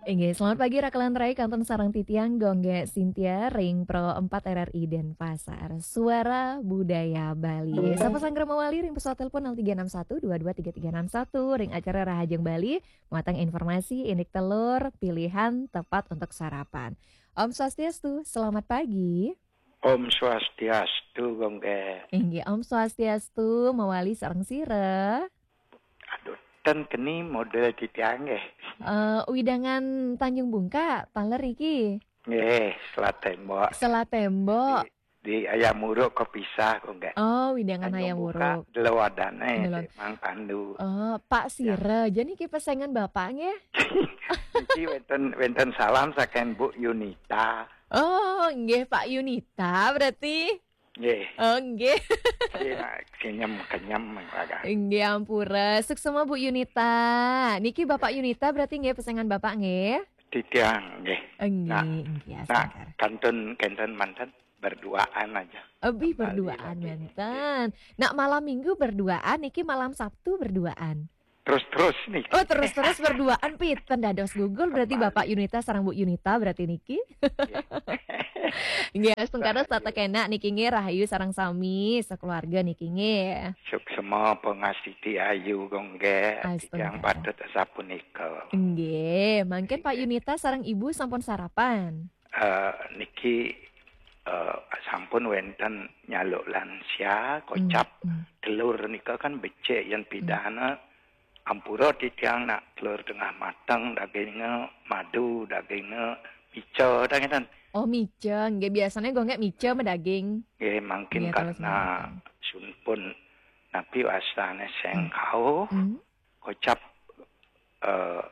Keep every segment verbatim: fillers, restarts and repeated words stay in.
Inggih, selamat pagi Rakelan Rai, kantun sareng titiang Gung Gé Sintia ring Pro empat R R I Denpasar. Suara Budaya Bali. Sapa sanggra mawali ring pesawat telepon nol tiga enam satu dua dua tiga tiga enam satu ring acara Rahajeng Bali, muatan informasi indik telur pilihan tepat untuk sarapan. Om Swastiastu, selamat pagi. Om Swastiastu, Gung Gé. Inggih, Om Swastiastu, mawali sareng sira. Aduh, ten keni model titiang nggih. Eh, wewidangan Tanjung Bungka, taler niki. Nggih, Selat Tembok. Selat Tembok. Di, di Hayam Wuruk kepisah, Gung Gé. Oh, wewidangan Tanjung Hayam Bungka, Wuruk. Deloadane, Delod. Mang Pandu. Oh, Pak Ya. Sira, jani niki pesengan Bapak nggih? Niki wenten, wenten salam saking Bu Yunita. Oh, nggih, Pak Yunita berarti. Nggih. Oh, nggih. Nggih, nak kenyem-kenyem agak. Nggih, ampura. Suksma Bu Yunita. Niki Bapak Yunita berarti nggih pesengan Bapak nggih? Titiang nggih. Nggih, Nah, nggih, nah, sangkar. Kantun kenten manten berduaan aja. Abi Kembali berduaan lagi. Manten. Nak malam minggu berduaan, niki malam Sabtu berduaan. Terus-terus nih. Oh, terus-terus berduaan, piten dados gugur berarti Kembali. Bapak Yunita sareng Bu Yunita berarti niki. Nggih. Nggih, astungkara Rahayu. Setata kenak niki nggih, rahayu sareng sami sekeluarga niki nggih. Suksma pangastiti ayu, Gung Gé. Astungkara. Titiang patut sapunika. Nggih, mangkin Pak Nggih. Yunita sareng Ibu sampun sarapan? Eh, niki, eh, sampun wenten nyaluk lansia, kocap Hmm, hmm. Telur nika kan becik yen Hmm. pidana. Ampura titiang nak telur tengah mateng, dagingnya madu, dagingnya mica, dah ngeten. Oh, mica. Nggih, biasanya Gung Gé mica medaging. Nggih, mangkin Nggih, terus karena mangkin. Sunpun napi wastane Hmm. sengkau, Hmm. kocap, eh,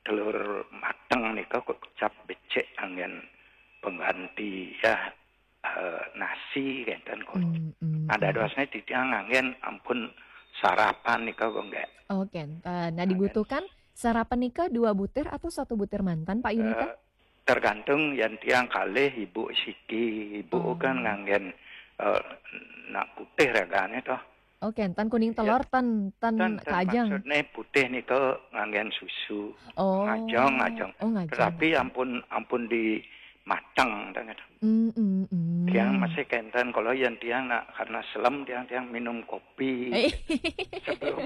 telur mateng nika kocap becik anggen pengganti ya, eh, nasi kenten kocap. Hmm, hmm, Nah, hmm. Dadosne titiang anggen ampun sarapan nika, Gung Gé. Oh, kenten. Nah, Anggen. Dibutuhkan sarapan nika dua butir atau satu butir manten, Pak Yunita? Eh, tergantung yen tiang kalih ibu siki. Ibu Oh. kan nganggen, eh, nak putih ragane toh. Oh, kenten kuning Ya. telur ten, ten Ten, ten kajeng. Maksudne putih nika nganggen susu. Oh. Ngajeng, ngajeng. Oh, ngajeng. Tetapi ampun, ampun di mateng, dah ngeten. Mm, mm, mm. Tiang masih kenten, kalau yen tiang nak karena selem tiang, tiang minum kopi. Eh. Sebelum,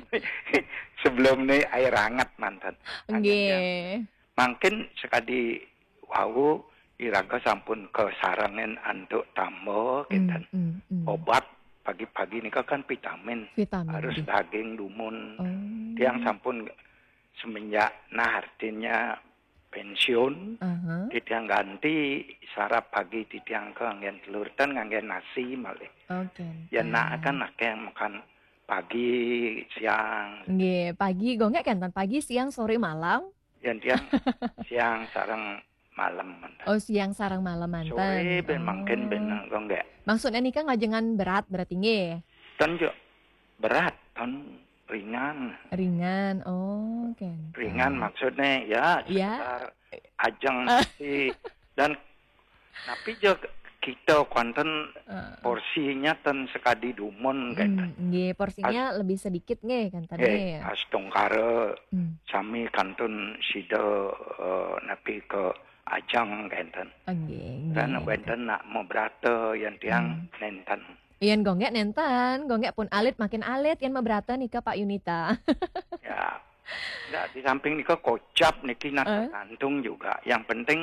sebelum ni air hangat manten. Anggen Nggih. tiang. Mangkin sekadi wau iraga sampun kasarengin antuk tamba, Mm, kenten. Mm, mm. Obat pagi-pagi nika kan vitamin. Vitamin Harus D. Daging dumun. Oh. Tiang sampun semenjak, nah, artinya pensiun, Aha. Titiang ganti sarap pagi titiang ke nganggen telur ten nganggen nasi malih. Oh, kenten. Ya, nak kan akeh makan pagi, siang. Nggih, pagi, Gung Gé kenten pagi, siang, sore, malam? Yen tiang siang sareng malam manten. Oh, siang sareng malam manten. Sore ben mangkin ben Oh. Gung Gé. Maksudnya nika ngajengan berat berarti nggih? Ten jo berat, ten ringan. Ringan. Oh, kenten. Ringan maksudnya ya Ya. sekedar ajeng nasi dan napi jo kita kenten Eh. porsinya ten sekadi dumun Hmm, kenten. Nggih, porsinya As- lebih sedikit nggih kenten Nggih, nggih. Astungkara Hmm. sami kantun sida, eh, napi ke ajeng kenten. Ah, nggih, nggih, Dan nggih. Wenten nak mabrata yen tiang Hmm. nenten. Yen Gung Gé nenten, Gung Gé pun alit makin alit yen mabrata nika Pak Yunita. Ya. Ndak, di samping nika kocap niki nak Eh? tergantung juga. Yang penting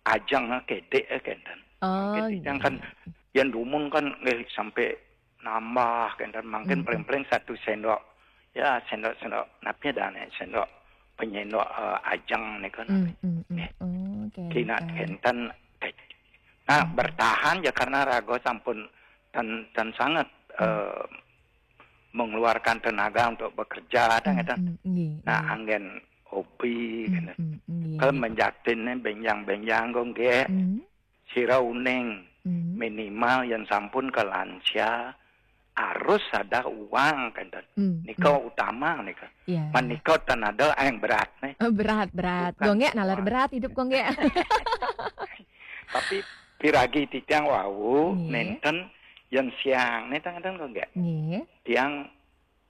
ajeng, eh, kedek, eh, kenten. Oh, Mangkin titiang nggih. Kan yen dumun kan nggih sampai nambah kenten, mangkin Mm-mm. paling-paling satu sendok. Ya, sendok-sendok napi dane, sendok penyendok, eh, ajeng nika napi. Mm, mm, mm. Nggih. Oh, kenten. Kina kenten. Nah, Mm. bertahan ya karena raga sampun ten, ten sangat, Mm. eh, mengeluarkan tenaga untuk bekerja, dah Mm, ngeten. Mm, nggih, Nah, nggih. Anggen hobi, Mm, kenten. Mm, nggih, Ke nggih. Menjatinne benjang-benjang kok nggih. Mm. Sira uning Mm. minimal yen sampun ke lansia harus ada uang, kenten. Mm, Nika mm. Utama nika. Ya. Menika ten ada yang berat nih. Eh, berat, berat. Bukan Gung Gé nalar semua. Berat hidup Gung Gé. Tapi piragi titiang wau Nggih. Nenten yen siang nih tang-tang Gung Gé. Nggih. Tiang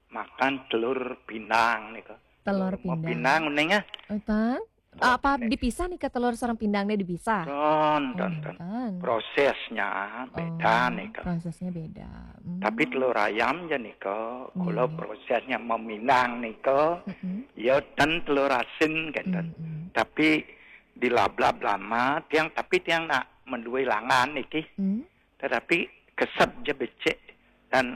makan telur pindang nika. Telur Telur pindang. Pindang uning ya. Utan? Apa dipisah nih ke telur sareng pindang nih dipisah? Ten, ten, ten. Ten. Prosesnya beda Oh, nih ke. Prosesnya beda. Hmm. Tapi telur ayam ya nih ke, kalau Iya. prosesnya meminang nih ke, Mm-mm. ya ten telur asin kan. Mm-mm. Tapi di lablab lama, tiang tapi tiang nak menduwe langan niki. Hmm. Tetapi kesep je becik dan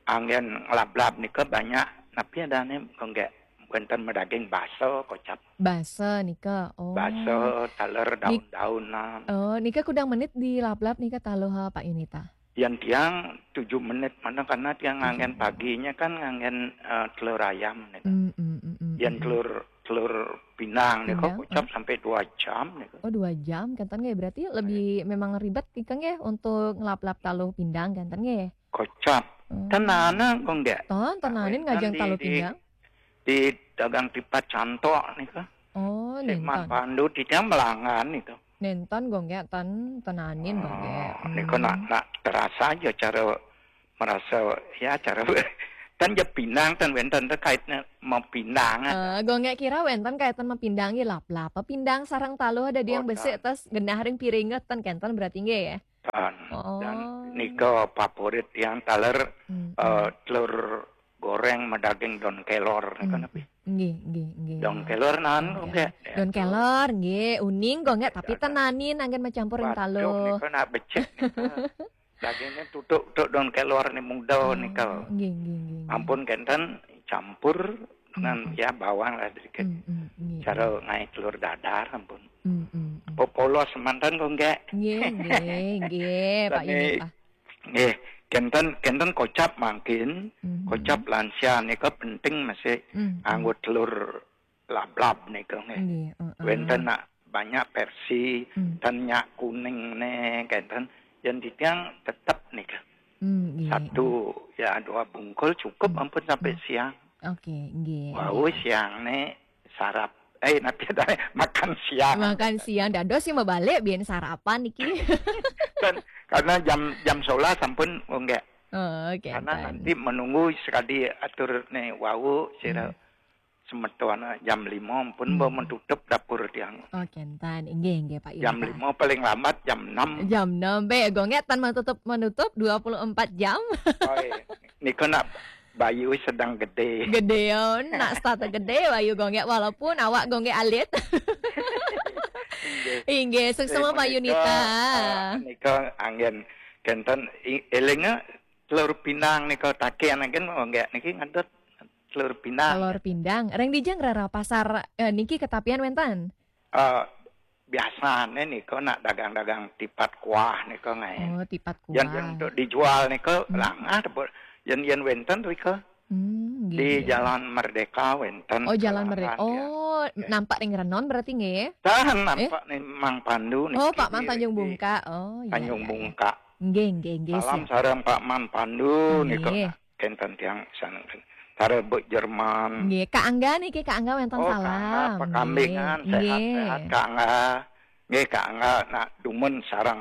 anggen ngelablab nika banyak. Napi adane kok nggak wenten medaging baso kocap. Basa nika. Oh. Baso, taler daun-daunan. Oh, nika kudang menit di lablab nika taluh ha, Pak Yunita. Yang tiang tujuh menit mana karena tiang anggen paginya kan anggen eh, telur ayam nih. Hmm, hmm, hmm, hmm, Yang hmm. telur telur pinang nih kok Pinang, kocap sampai dua jam nih. Oh, dua jam kenten nggih. Berarti lebih memang ribet nika nggih untuk ngelap-lap taluh pindang kenten nggih. Kocap. Hmm. Tenana kok nggak. Ton, tenanin ngajeng Di- taluh di- pindang. Di dagang tipat cantok nih kok. Oh, Di Man nenten. Pandu di tiang melangan itu. Nenten gongge ten, tenanin gongge. Oh, nika nak nak terasa aja cara merasa ya cara kan je pinang ten wenten terkaitnya mau pinang. Eh, gongge kira wenten kaitan mapindang nggih lap-lap. Pindang sareng taluh ada yang Oh, besik ten. Terus genah ring piring ten kenten berarti nggih ya. Tan. Oh. Dan nika favorit yang taler Hmm, eh, telur goreng medaging daun kelor nih kan Hmm. apa? Nggih, nggih, nggih. Daun kelor nan Oke. nggih. Daun kelor nggih, uning gongge tapi tenanin anggen macampur ring Waduh, taluh. Nika nak becik nika. Dagingnya tutuk tutuk daun kelor nih muda Oh, nika. Nggih, nggih, nggih, nggih. Ampun kenten campur dengan Hmm. ya bawang lah sedikit. Hmm, hmm, nggih. Cara ngai telur dadar ampun. Hmm, hmm, hmm. Popolos mantan kok nggak. Nggih, nggih, nggih, Pak Tadi- Yunita. Nggih, kenten kenten kocap mangkin, Mhm. kocap lansia nika penting masih Hmm, anggo telur lablab nika nggih. Nggih, heeh. Wenten nak banyak versi Hmm. dan nyak kuning nih kenten yang di tiang tetap nih Hmm, nggih. Satu ya dua bungkul cukup Hmm. Ampun sampai siang. Oke, nggih. Wau siang nih sarap eh nanti ada makan siang. Makan siang dados sih mabalik biyen sarapan niki. Dan karena jam jam sebelas ampun oh, enggak. Oh, oke. Karena nanti menunggu sekali atur nih wau sira Hmm. semeton jam lima pun Hmm. mau menutup dapur tiang. Oke, entan. Inggih, inggih, Pak Jam Yunita. lima paling lambat jam enam. Jam enam be gongge tan menutup menutup dua puluh empat jam. Oh, iya. Nika nak bayu sedang gede. Gedeon, nak start gede bayu gongge walaupun awak gongge alit. Inggih, suksma Pak Yunita. Nika anggen kenten i- elinga telur pinang nika takian anggen nggak niki ngadot telur pinang. Telur pindang. Reng dijang rara pasar eh, niki ketapian wenten. Eh, biasane nika nak dagang-dagang tipat kuah nika ngaen. Oh, tipat kuah. Yang, yang untuk dijual nika Hmm. langah tebel. Yang yang wenten rika Hmm, nggih, di nggih. Jalan Merdeka wenten. Oh, Jalan Kelarahan, Merdeka. ya. Oh, nampak ring Renon berarti nggih. Tahan nampak nih Mang Pandu nih. Oh, Pak Mang Tanjung Bungka. Oh, iya. Tanjung Iya, iya. Bungka. Nggih, nggih, nggih. Salam Siap. Sarang Pak Man Pandu nika Nggih. Kenten tiang saneng. Tara Buk Jerman. Nggih, Kak Angga niki Kak Angga wenten Oh, salam. Kak Angga, Pak Kambingan, Nggih. sehat-sehat Kak Angga. Nggih, Kak Angga nak dumun sarang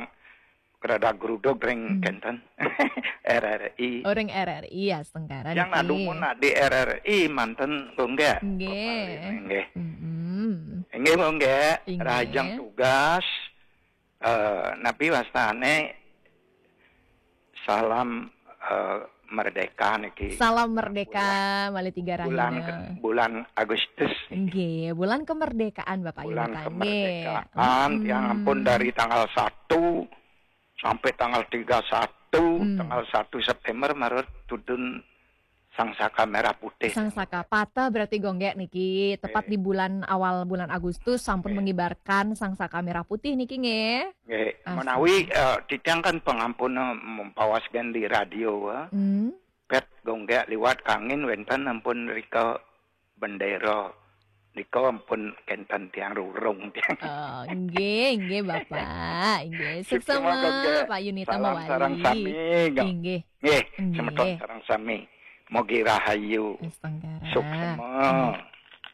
kerada geruduk ring Hmm. kenten. R R I. Orang R R I ya setengkaran. Yang nak dumun nak di R R I manten kok nggih. Nggih. Nggih. Mm-mm. Nggih kok nggih. Nggih. Rahajeng tugas. Eh, napi wastane salam eh, merdeka niki. Salam merdeka malih tiga Bulan rahina. Bulan Agustus. Nggih, bulan kemerdekaan Bapak Bulan Yunita. Kemerdekaan Nggih. yang ampun dari tanggal satu sampai tanggal tiga satu, Hmm. tanggal satu September marut tudun Sang Saka Merah Putih. Sang Saka Patah berarti gonggek niki tepat di bulan awal bulan Agustus sampun mengibarkan Sang Saka Merah Putih niki nggih. Nggih, Astaga. Menawi eh, titiang kan pangampun eh, mempawas gen di radio eh. Hmm. Pet gonggek liwat kangin wenten ampun rika bendera. Nika ampun kenten tiang rurung tiang. Oh, nggih, nggih Bapak. Nggih, Suksma suksma gonggek. Pak Yunita Salam mawali. Sarang sami, nggih. Nggih. Nggih, Nggih. Semeton sarang sami. Mogi rahayu. Setengkaran. Suksma.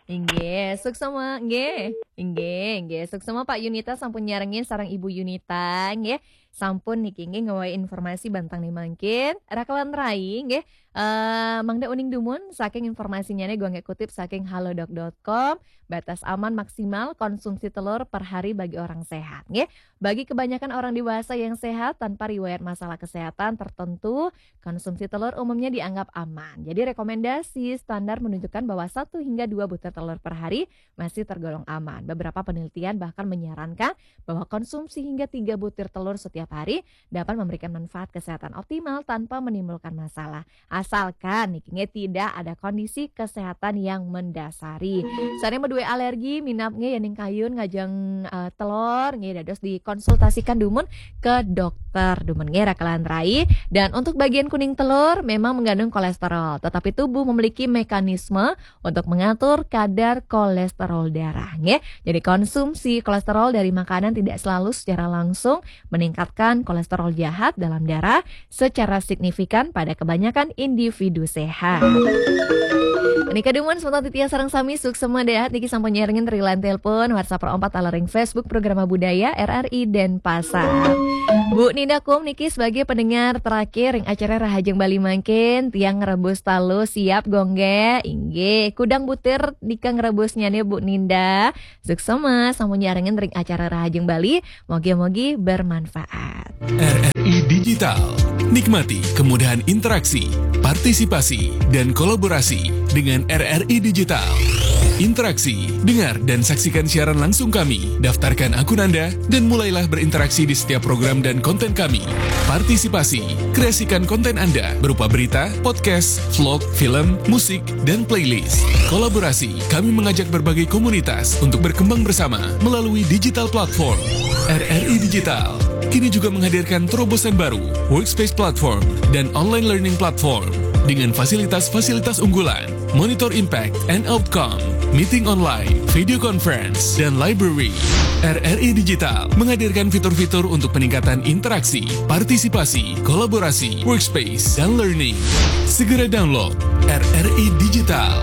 Inggih, suksma nggih. Inggih, inggih. Suksma Pak Yunita sampun nyarengin sareng Ibu Yunita nggih. Sampun niki nggih nggawa informasi bantang nih mangkin. Rakelan rai nggih. Eh, mangda uning dumun saking informasinya nih gua nggak kutip saking halodoc dot com. Batas aman maksimal konsumsi telur per hari bagi orang sehat nggih. Bagi kebanyakan orang dewasa yang sehat tanpa riwayat masalah kesehatan tertentu, konsumsi telur umumnya dianggap aman. Jadi rekomendasi standar menunjukkan bahwa satu hingga dua butir telur per hari masih tergolong aman. Beberapa penelitian bahkan menyarankan bahwa konsumsi hingga tiga butir telur setiap hari dapat memberikan manfaat kesehatan optimal tanpa menimbulkan masalah. Asalkan niki nggih tidak ada kondisi kesehatan yang mendasari. Sané dua alergi, minab nggih yéning kayun ngajeng eh, telur nggih dados dikonsultasikan dumun ke dokter dumun nggih rakelan rai. Dan untuk bagian kuning telur memang mengandung kolesterol, tetapi tubuh memiliki mekanisme untuk mengatur kadar kolesterol darah nggih. Jadi konsumsi kolesterol dari makanan tidak selalu secara langsung meningkatkan kolesterol jahat dalam darah secara signifikan pada kebanyakan individu sehat. Nika dumun semeton titiang sareng sami suksma dahat niki sampun nyarengin ring line telepon, WhatsApp empat taler ring Facebook Programa Budaya R R I Denpasar. Bu Ninda Kum niki sebagai pendengar terakhir ring acara Rahajeng Bali mangkin, tiang ngrebus talu siap gongge, inggih. Kudang butir nika ngrebusnya nih Bu Ninda. Suksma sampun nyarengin ring acara Rahajeng Bali, mogi-mogi bermanfaat. R R I Digital. Nikmati kemudahan interaksi, partisipasi, dan kolaborasi dengan R R I Digital. Interaksi, dengar dan saksikan siaran langsung kami. Daftarkan akun Anda dan mulailah berinteraksi di setiap program dan konten kami. Partisipasi, kreasikan konten Anda berupa berita, podcast, vlog, film, musik, dan playlist. Kolaborasi, kami mengajak berbagai komunitas untuk berkembang bersama melalui digital platform. R R I Digital kini juga menghadirkan terobosan baru, Workspace Platform dan Online Learning Platform dengan fasilitas-fasilitas unggulan, Monitor Impact and Outcome, Meeting Online, Video Conference, dan Library. R R I Digital menghadirkan fitur-fitur untuk peningkatan interaksi, partisipasi, kolaborasi, workspace, dan learning. Segera download R R I Digital.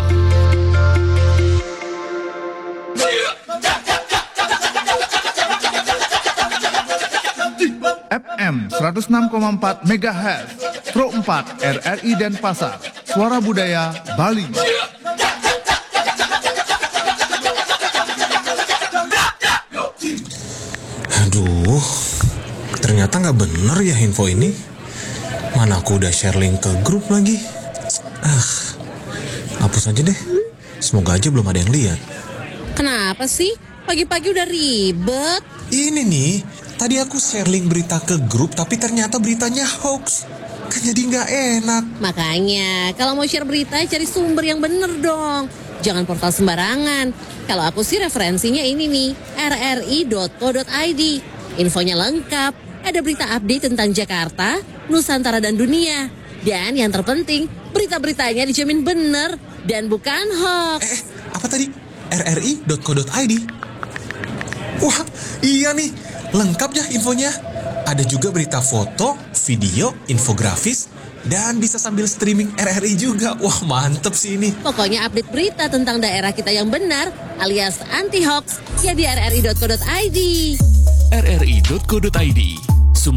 F M seratus enam koma empat megahertz, Pro empat R R I Denpasar, Suara Budaya Bali. Aduh, ternyata nggak bener ya info ini. Mana aku udah share link ke grup lagi. Ah, hapus aja deh. Semoga aja belum ada yang lihat. Kenapa sih? Pagi-pagi udah ribet. Ini nih, tadi aku share link berita ke grup tapi ternyata beritanya hoax. Kan jadi nggak enak. Makanya, kalau mau share berita, cari sumber yang bener dong. Jangan portal sembarangan. Kalau aku sih referensinya ini nih, R R I dot co dot I D. Infonya lengkap. Ada berita update tentang Jakarta, Nusantara dan dunia. Dan yang terpenting, berita-beritanya dijamin bener dan bukan hoax. Eh, apa tadi? R R I dot co dot I D. Wah, iya nih, lengkap ya infonya. Ada juga berita foto, video, infografis, dan bisa sambil streaming R R I juga. Wah, mantep sih ini. Pokoknya update berita tentang daerah kita yang benar alias anti hoax ya di R R I dot co dot I D. R R I dot co dot I D.